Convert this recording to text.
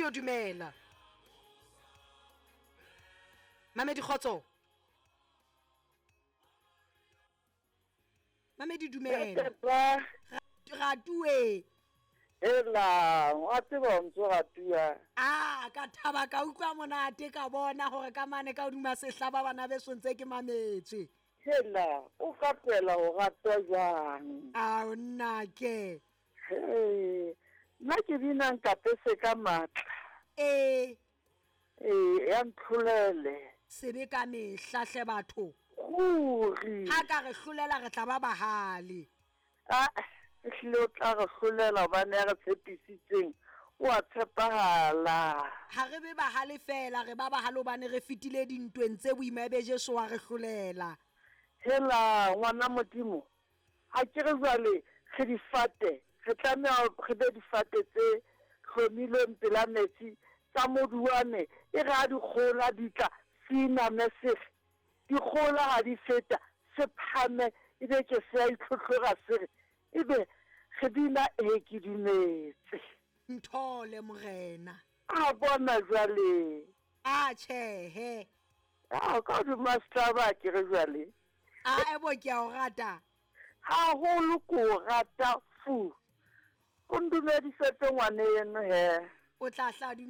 Studio dumela. Mamedi kgotso. Mamedi dumela. Ratue. Hela, wa tseba o ntso ratua. A ka thaba ka utlwa monate ka bona gore ka mane ka hodima sehlaba bana beso ntse ke mametswe. Hela, o ka tlohela go ratwa jwang? Ao nnake. Hee, nna ke bina nkapese ka matla. Ee. Ee, ya ntlholele. Sebe ka mehla hle batho. Ruri. Ha ka re hlolela re tla ba bahale. A ehlile o tla re hlolela gobane ya re tshepisitseng o a tshepahala. Ha re be bahale feela, re ba bahale hobane re fetile dintweng tse boima ebe Jesu wa re hlolela. Hela, ngwana Modimo, ga ke re jwale re difate, re tlameha re be difate tse hlomilweng pela metsi, tsa moduwane, e re ha dikgohola di tla, se iname se re, Dikgohola ha di feta, se phame, e be ke se a itlhohlora se re, Ebe re bina Ee ke dumetse. Nthole, Morena. A bona jwale. A tjhehe. A ka hodima setlaba ke re jwale. A ebo ke a o rata. Haholo ke o rata fu. O ndumedisetse ngwaneno he. O tla hla dumela.